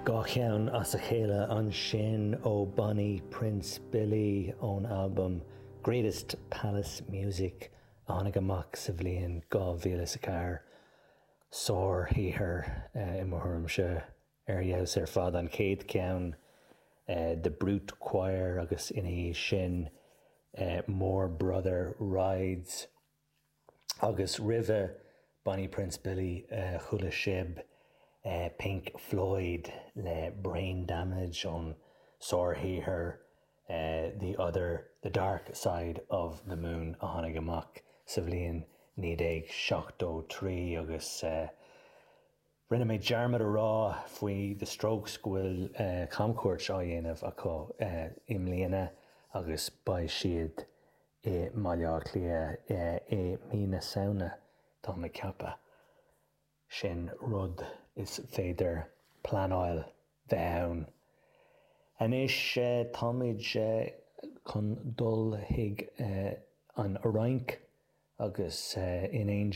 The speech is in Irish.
Dá cheann as a chéile ansin ó Bonnie Prince Billy ón albam Greatest Palace Music a tháinig amach sa bhliain 2004. Sárshaothar i mo thuairimse, ar fheabhas ar fad. An chéad cheann The Brute Choir agus ina dhiaidh sin Moore Brother Rides. Agus roimhe Bonnie Prince Billy chuala sibh Pink Floyd le Brain Damage ón sárshaothar The Other, The Dark Side of the Moon a tháinig amach sa bhliain 1973 agus rinne mé dearmad a rá faoi The Strokes go bhfuil camchuairt á dhéanamh acu i mbliana agus beidh siad i mBaile Átha Cliath i mí na Samhna, táim ag ceapadh. Sin rud is féidir pleanáil bheith ann. Anois táimid chun dul chuig an Fhrainc agus in éindí.